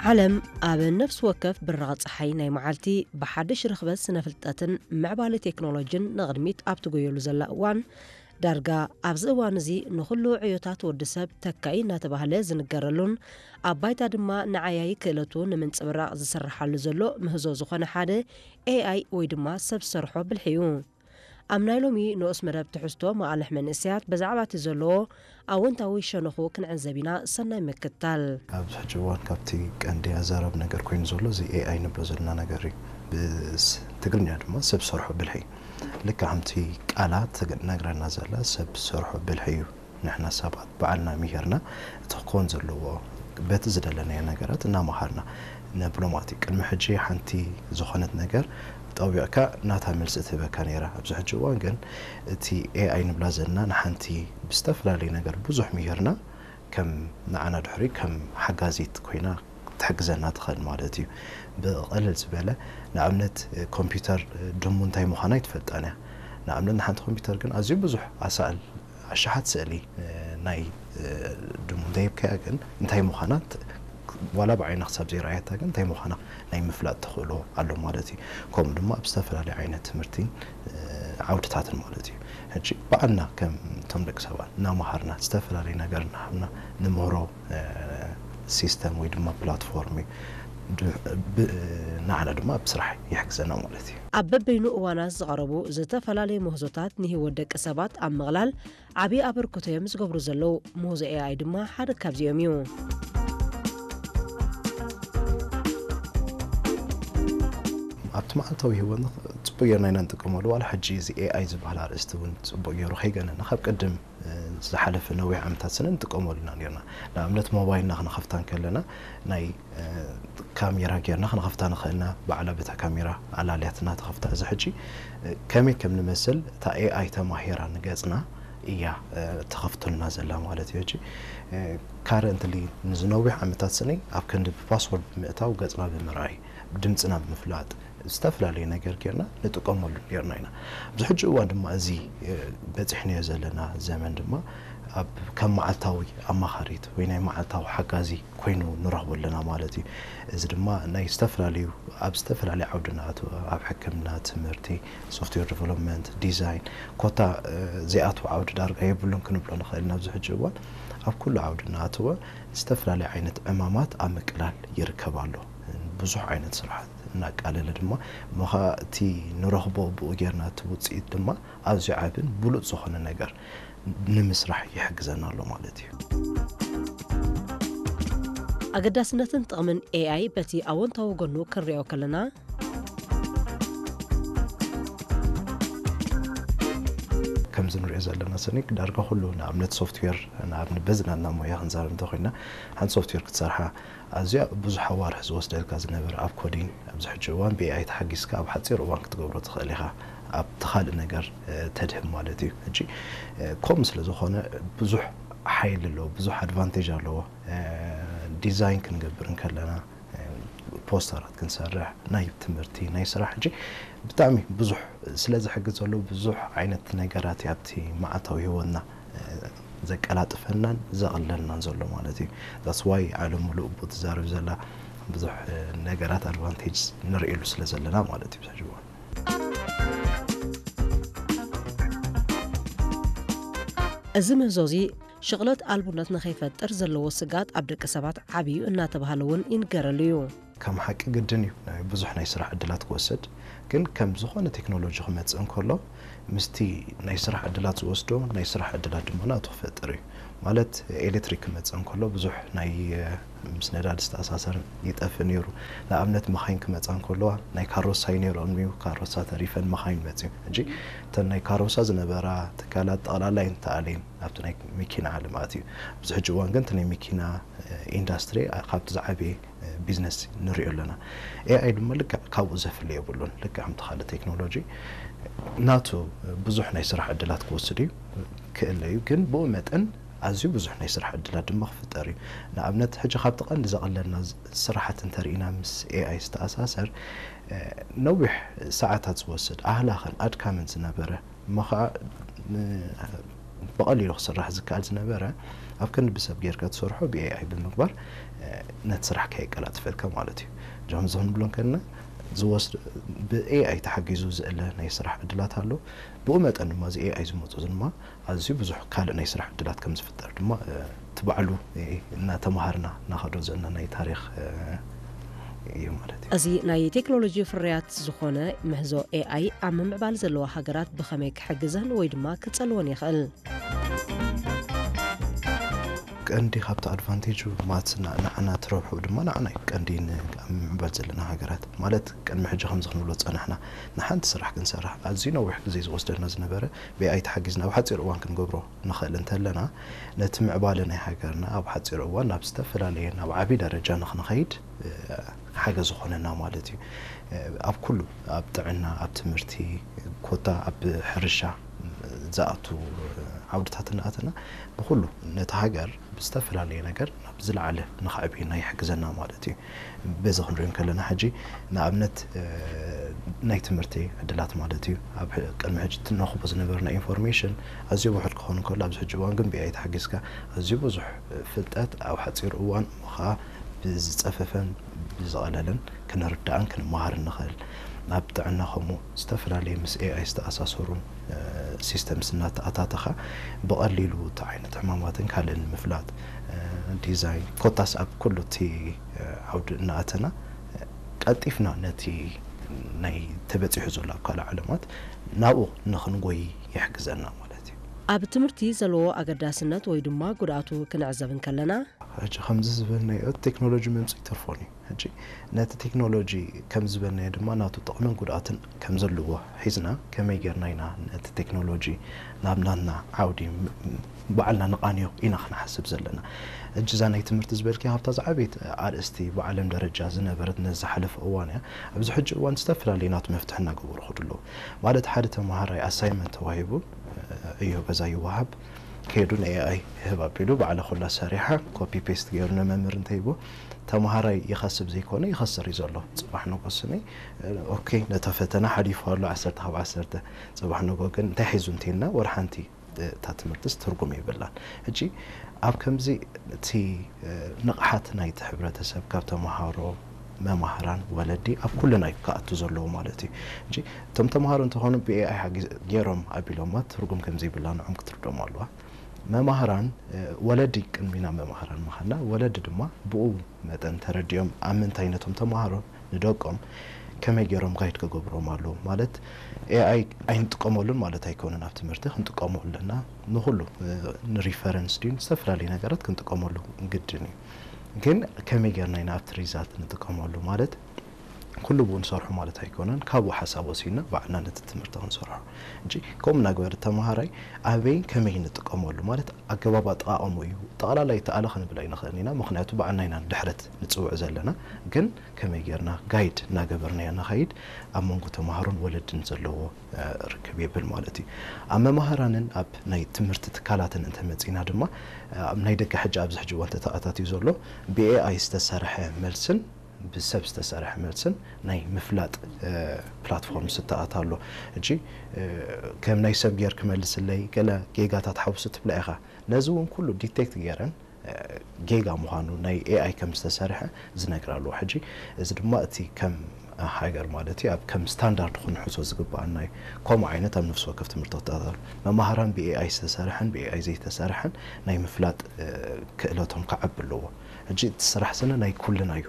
ዓለም ኣብ ነፍሲ ወከፍ ብራቕ ጸሓይ ናይ መዓልቲ ብሓድሽ ርኽበት ስነ-ፍልጠትን ምዕባለ ቴክኖሎጅን ንቕድሚት ኣብ ትጎየሉ ዘላ እዋን፣ ዳርጋ ኣብዚ እዋን እዚ ንኹሉ ዕዮታት ወዲ ሰብ ተካኢ እናተባህለ ዝንገረሉን ኣብ ባይታ ድማ ንዓያዪ ክእለቱ ንምንጽብራቕ ዝስርሓሉ ዘሎ ምህዞ ዝኾነ ሓደ ኤኣይ ወይ ድማ ሰብ ዝሰርሖ ብልሒ እዩ። ኣብ ናይ ሎሚ ንኡስ መደብ ትሕዝቶ መቓልሕ መንእሰያት ብዛዕባ እቲ ዘለዎ ኣወንታዊ ሸነኹ ክንዕዘብ ኢና። ሰናይ ምክትታል። ኣብዚ ሕጂ እዋን ካብቲ ቀንዲ ኣዛራቢ ነገር ኮይኑ ዘሎ እዚ ኤኣይ ንብሎ ዘለና ነገር እዩ። ብትግርኛ ድማ ሰብ ሰርሖ ብልሒ። ልክዕ ከምቲ ቃላ ትነግረና ዘላ ሰብ ሰርሖ ብልሒ እዩ። ንሕና ሰባት ባዕልና ምሂርና እቲ ክኾን ዘለዎ በቲ ዝደለናዮ ነገራት እናመሃርና ነብሎ ማለት እዩ። ቅድሚ ሕጂ ሓንቲ ዝኾነት ነገር ጠዊቕካ ናታ መልሲ ትህበካ ነይራ። ኣብዚ ሕጂ እዋን ግን እቲ ኤኣይ ንብላ ዘለና ንሓንቲ ብዝተፈላለየ ነገር ብዙሕ ምሂርና ከም ንዓና ድሕሪ ከም ሓጋዚት ኮይና ክትሕግዘና ትኽእል ማለት እዩ። ብቕልል ዝበለ ንኣብነት ኮምፒውተር ድሙ እንታይ ምዃና ኣይትፈልጣን እያ። ንኣብነት ንሓንቲ ኮምፒውተር ግን ኣዝዩ ብዙሕ ኣሳእል ኣሽሓት ስእሊ ናይ ድሙ እንተሂብካያ ግን እንታይ ምዃና ዋላ ብዓይና ክሳብ ዘይረኣየታ ግን እንታይ ምዃና ናይ ምፍላጥ ተኽእሎ ኣሎ ማለት እዩ። ከምኡ ድማ ኣብ ዝተፈላለዩ ዓይነት ትምህርቲ ዓውድታትን ማለት እዩ። ሕጂ ባዕልና ከም እቶም ደቂ ሰባት እናመሃርና ዝተፈላለዩ ነገር እናሃብና ንምህሮ ሲስተም ወይ ድማ ፕላትፎርም እዩ። ንዓና ድማ ኣብ ስራሕ ይሕግዘና ማለት እዩ። ኣብ በበይኑ እዋናት ዝቐረቡ ዝተፈላለዩ ምህዞታት ንህይወት ደቂ ሰባት ኣብ ምቕላል ዓብዪ ኣበርክቶ እዮም ዝገብሩ ዘለዉ። ምህዞ ኤኣይ ድማ ሓደ ካብዚኦም እዩ። ኣብቲ መዓልታዊ ህይወትና ፅቡቅ ጌርና ኢና ንጥቀመሉ። ዋላ ሕጂ እዚ ኤኣይ ዝበሃል ኣርእስቲ እውን ፅቡቅ ገይሩ ከይገነና ካብ ቅድም ዝሓለፈ ነዊሕ ዓመታት ስነ ንጥቀመሉ ኢና ነርና። ንኣብነት ሞባይልና ክንኸፍታ እንከለና ናይ ካሜራ ጌርና ክንኸፍታ ንኽእልና፣ ባዕላ በታ ካሜራ ኣላልያትና ትኸፍታ። እዚ ሕጂ ከመይ ከም ንመስል እታ ኤኣይ ተማሂራ ንገጽና እያ ትኸፍተልና ዘላ ማለት እዩ። ሕጂ ካረንትሊ ንዝነዊሕ ዓመታት ስኒ ኣብ ክንዲ ብፓስወርድ ብምእታው ገጽና ብምርኣይ፣ ድምጽና ብምፍላጥ፣ ዝተፈላለዩ ነገር ጌርና ንጥቀመሉ ኔርና ኢና። ኣብዚ ሕጂ እዋን ድማ እዚ በጺሕናዮ ዘለና ዘመን ድማ ኣብ ከም መዓልታዊ ኣማኻሪት ወይ ናይ መዓልታዊ ሓጋዚ ኮይኑ ንረኽቦ ኣለና ማለት እዩ። እዚ ድማ ናይ ዝተፈላለዩ ኣብ ዝተፈላለዩ ዓውዲ ንኣትዎ፣ ኣብ ሕክምና፣ ትምህርቲ፣ ሶፍትዌር ዲቨሎፕመንት፣ ዲዛይን፣ ኮታ ዘይኣትዎ ዓውዲ ዳርጋ የብሉን ክንብሎ ንኽእል ኢና። ኣብዚ ሕጂ እዋን ኣብ ኩሉ ዓውዲ እናኣተወ ዝተፈላለዩ ዓይነት ዕማማት ኣብ ምቅላል ይርከብ ኣሎ። ብዙሕ ዓይነት ስራሓት እናቃለለ ድማ እሞ ኸዓ እቲ ንረኽቦ ብኡ ጌርና እቲ ውፅኢት ድማ ኣዝዩ ዓብን ብሉፅ ዝኾነ ነገር ንምስራሕ ይሕግዘና ኣሎ ማለት እዩ። ኣገዳስነትን ጥቕምን ኤኣይ በቲ ኣወንታዊ ጎኑ ክንሪኦ ከለና፣ ከምዚ ንሪኦ ዘለና ስኒ ዳርጋ ኩሉ ንኣብነት ሶፍትዌር ንኣብነት በዚ ናትና ሞያ ክንዛረብ እንተኮይና ሓንቲ ሶፍትዌር ክትሰርሓ ኣዝያ ብዙሕ ኣዋርሕ ዝወስደልካ ዝነበረ ኣብ ኮዲንግ ኣብዚ ሕጂ እዋን ብኤኣይ ተሓጊዝካ ኣብ ሓፂር እዋን ክትገብሮ ትኽእል ኢኻ። ኣብቲ ካልእ ነገር ተድህብ ማለት እዩ። ሕጂ ከምኡ ስለ ዝኾነ ብዙሕ ሓይሊ ኣለዎ፣ ብዙሕ ኣድቫንቴጅ ኣለዎ። ዲዛይን ክንገብር እንከለና ፖስተራት ክንሰርሕ ናይ ትምህርቲ ናይ ስራሕ ሕጂ ብጣዕሚ ብዙሕ ስለ ዝሕግዝ ዘሎ ብዙሕ ዓይነት ነገራት ኣብቲ መዓልታዊ ህይወትና ዘቀላጥፈናን ዘቕለልናን ዘሎ ማለት እዩ። That's why ዓለም ሙሉእ ብኡ ትዛረብ ዘላ ብዙሕ ነገራት ኣድቫንቴጅ ንርእየሉ ስለ ዘለና ማለት እዩ። ሕጂ እዋን እዚ ምህዞ እዚ ሽቕለት ኣልቡነት ንኸይፈጥር ዘለዎ ስጋት ኣብ ደቂ ሰባት ዓብዩ እናተባህለ እውን ይንገረሉ እዩ። ከም ሓቂ ግድን እዩ ናይ ብዙሕ ናይ ስራሕ ዕድላት ክወስድ፣ ግን ከም ዝኾነ ቴክኖሎጂ ክመጽእ እንከሎ ምስቲ ናይ ስራሕ ዕድላት ዝወስዶ ናይ ስራሕ ዕድላት ድማ ናቱ ክፈጥር እዩ። ማለት ኤሌክትሪክ ክመጽእ እንከሎ ብዙሕ ናይ ምስ ነዳዲ ዝተኣሳሰር ይጠፍእ ነይሩ። ንኣብነት መኻይን ክመጻ እንከለዋ ናይ ካሮሳ እዩ ነይሮም እዩ፣ ካሮሳ ተሪፈን መኻይን መጽዩ። ሕጂ እተን ናይ ካሮሳ ዝነበራ ትካላት ጠቕላላ እየን ተኣልየን ኣብቲ ናይ መኪና ዓለም ኣትዩ። ኣብዚ ሕጂ እዋን ግን እቲ ናይ መኪና ኢንዳስትሪ ካብቲ ዝዓበየ ቢዝነስ ንሪኦ ኣለና። ኤኣይ ድማ ልክዕ ካብኡ ዘፍሊ የብሉን። ልክዕ ከምቲ ካልእ ቴክኖሎጂ ናቱ ብዙሕ ናይ ስራሕ ዕድላት ክወስድ እዩ ክእለ እዩ፣ ግን ብኡ መጠን ኣዝዩ ብዙሕ ናይ ስራሕ ዕድላት ድማ ክፍጠር እዩ። ንኣብነት ሕጂ ካብቲ ቀንዲ ዘቐለልና ስራሓት እንተርኢና ምስ ኤኣይ ዝተኣሳሰር ነዊሕ ሰዓታት ዝወስድ ኣህላኽን ኣድካምን ዝነበረ እሞ ኸዓ ብቐሊሉ ክስራሕ ዝከኣል ዝነበረ ኣብ ክንዲ ብሰብ ጌርካ ትሰርሖ ብኤኣይ ብምግባር ነቲ ስራሕ ከየቀላጥፈልካ ማለት እዩ። እዞም እዞም ንብሎም ከለና ዝወስድ ብኤኣይ ተሓጊዙ ዝእለ ናይ ስራሕ ዕድላት ኣሎ። ብኡ መጠን ድማ እዚ ኤኣይ ዝመፁ ድማ ኣዝዩ ብዙሕ ካልእ ናይ ስራሕ ዕድላት ከም ዝፍጠር ድማ እቲ ባዕሉ እናተምሃርና እናኸዶ ዘለና ናይ ታሪኽ እዩ ማለት እዩ። እዚ ናይ ቴክኖሎጂ ፍርያት ዝኾነ ምህዞ ኤኣይ ኣብ ምምዕባል ዘለዋ ሃገራት ብኸመይ ክሕግዘን ወይ ድማ ክጸልወን ይኽእል? ቀንዲ ካብቲ ኣድቫንቴጁ ማለት ንዓና ትረብሑ ድማ ንዓና እዩ ቀንዲ ኣብ ምምዕባል ዘለና ሃገራት ማለት ቅድሚ ሕጂ ከምዚ ክንብሎ ዝፀናሕና ንሓንቲ ስራሕ ክንሰርሕ ኣዝዩ ነዊሕ ግዜ ዝወስደና ዝነበረ ብኤኣይ ተሓጊዝና ኣብ ሓፂር እዋን ክንገብሮ ንኽእል እንተለና ነቲ ምዕባለ ናይ ሃገርና ኣብ ሓፂር እዋን ናብ ዝተፈላለየ ናብ ዓብዪ ደረጃ ንክንኸይድ ሓገዝ ዝኾነና ማለት እዩ። ኣብ ኩሉ ኣብ ጥዕና፣ ኣብ ትምህርቲ፣ ኮታ ኣብ ሕርሻ ዝኣቱ ዓውድታት እናኣተና ብኩሉ ነቲ ሃገር ብዝተፈላለየ ነገር ናብ ዝለዓለ ንኸዕብየና ይሕግዘና ማለት እዩ። በዚ ክንሪኦ ከለና ሕጂ ንኣብነት ናይ ትምህርቲ ዕድላት ማለት እዩ። ኣብ ቅድሚ ሕጂ ትነኽቦ ዝነበርና ኢንፎርሜሽን ኣዝዩ ውሑድ ክኸውን ከሎ ኣብዚ ሕጂ እዋን ግን ብኤኣይ ተሓጊዝካ ኣዝዩ ብዙሕ ፍልጠት ኣብ ሓፂር እዋን እሞ ከዓ ብዝፀፈፈን ብዝቐለለን ክንርዳእን ክንመሃርን ንኽእል። ኣብ ጥዕና ከምኡ ዝተፈላለዩ ምስ ኤኣይ ዝተኣሳሰሩ ሲስተምስ እናተኣታተኻ ብቐሊሉ እቲ ዓይነት ሕማማትን ካልእን ንምፍላጥ ዲዛይን ኮታስ ኣብ ኩሉ እቲ ዓውዲ እናኣተና ቀልጢፍና ነቲ ናይ ተበፂሑ ዘሎ ኣብ ካልእ ዓለማት ናብኡ ንኽንጎይ ይሕግዘና ማለት እዩ። ኣብ ትምህርቲ ዘለዎ ኣገዳስነት ወይ ድማ ጉድኣቱ ክንዕዘብ እንከለና፣ ሕጂ ከምዚ ዝበልናዮ ቴክኖሎጂ መምፅኢ ተርፎን እዩ። ሕጂ ነቲ ቴክኖሎጂ ከም ዝበልናዮ ድማ ናቱ ጥቕምን ጉድኣትን ከም ዘለዎ ሒዝና ከመይ ጌርና ኢና ነቲ ቴክኖሎጂ ናብ ናትና ዓውዲ ባዕልና ንቓንዮ ኢና ክንሓስብ ዘለና። እጅዛ ናይ ትምህርቲ ዝበልኪ ካብታ ዝዓበየት ኣርእስቲ ብዓለም ደረጃ ዝነበረት ነዚ ዝሓለፈ እዋን እያ። ኣብዚ ሕጂ እዋን ዝተፈላለዩ ናቱ መፍትሒ እናገበሩ ክዱ ኣለዉ። ማለት ሓደ ተምሃራይ ኣሳይመንት ተዋሂቡ ዕዮ ገዛ ይወሃብ ከይዱ ንኤኣይ ህብ ኣቢሉ ባዕላ ኩላ ሰሪሓ ኮፒ ፔስት ገይሩ ንመምህር እንተሂቡ ተምሃራይ ይኸስብ ዘይኮነ ይኸስር እዩ ዘሎ። ፅባሕ ንጎስኒ ኦኬ ነታ ፈተና ሓሊፉ ኣሎ ዓሰርተ ካብ ዓሰርተ። ፅባሕ ንጎ ግን እንታይ ሒዙ እንተይልና ወላ ሓንቲ እታ ትምህርትስ ትርጉም የብላን። ሕጂ ኣብ ከምዚ እቲ ንቕሓት ናይቲ ሕብረተሰብ ካብ ተምሃሮ፣ መማህራን፣ ወለዲ ኣብ ኩልና እዩ ክኣቱ ዘለዎ ማለት እዩ። ሕጂ እቶም ተምሃሮ እንተኾኑ ብኤኣይ ሓጊዝ ገይሮም ኣቢሎማ ትርጉም ከም ዘይብላ ንዖም ክትርዶም ኣለዋ። መማህራን ወለዲ ቅድሚና መማህራን ምዃንና ወለዲ ድማ ብኡ መጠን ተረዲኦም ኣብ ምንታይ ነቶም ተምሃሮ ንደቆም ከመይ ገይሮም ጋይድ ክገብሮም ኣለዎም ማለት ኤኣይ ኣይንጥቀመሉን ማለት ኣይኮነን ኣብ ትምህርቲ ክንጥቀሞ ኣለና ንኩሉ ንሪፈረንስ ድዩ ዝተፈላለዩ ነገራት ክንጥቀመሉ ግድን እዩ ግን ከመይ ገርና ኢና ኣብቲ ሪዛልት ንጥቀመሉ ማለት ኩሉ ብኡ ንሰርሖ ማለት ኣይኮነን ካብኡ ሓሳብ ወሲድና ባዕልና ነቲ ትምህርቲ ክንሰርሖ እንጂ ከምኡ እናግበረ ተምሃራይ ኣበይን ከመይ ንጥቀመሉ ማለት ኣገባብ ኣጠቓቐሙ እዩ ጠቕላላይ ተኣለ ክንብል ኣይንኽእልን ኢና ምክንያቱ ባዕልና ኢና ድሕረት ንፅውዕ ዘለና ግን ከመይ ጌርና ጋይድ እናገበርናዮ ንኸይድ ኣብ መንጎ ተምሃሮን ወለድን ዘለዎ ርክብ የብል ማለት እዩ ኣብ መማህራንን ኣብ ናይ ትምህርቲ ትካላትን እንተመፂና ድማ ኣብ ናይ ደቂ ሕጂ ኣብዚ ሕጂ እዋን ተተኣታትዩ ዘሎ ብኤኣይ ዝተሰርሐ መልስን ብሰብ ዝተሰርሐ መልስን ናይ ምፍላጥ ፕላትፎርም ዝተኣታ ኣሎ እጂ ከም ናይ ሰብ ጌር ክመልስለይ ገለ ጌጋታት ሓውሱ ትብላ ኢኻ ነዚ እውን ኩሉ ዲቴክት ገይረን ጌጋ ምዃኑ ናይ ኤኣይ ከም ዝተሰርሐ ዝነግር ኣለዎ ሕጂ እዚ ድማ እቲ ከም ሃገር ማለት እዩ ኣብ ከም ስታንዳርድ ክንሕዞ ዝግባኣና እዩ ከምኡ ዓይነት ኣብ ነፍሲ ወከፍ ትምህርቲ ክተኣታተሉ መማህራን ብኤኣይ ዝተሰርሐን ብኤኣይ ዘይተሰርሐን ናይ ምፍላጥ ክእለቶም ክዓቢ ኣለዎ ሕጂ እቲ ስራሕ ስነ ናይ ኩልና እዩ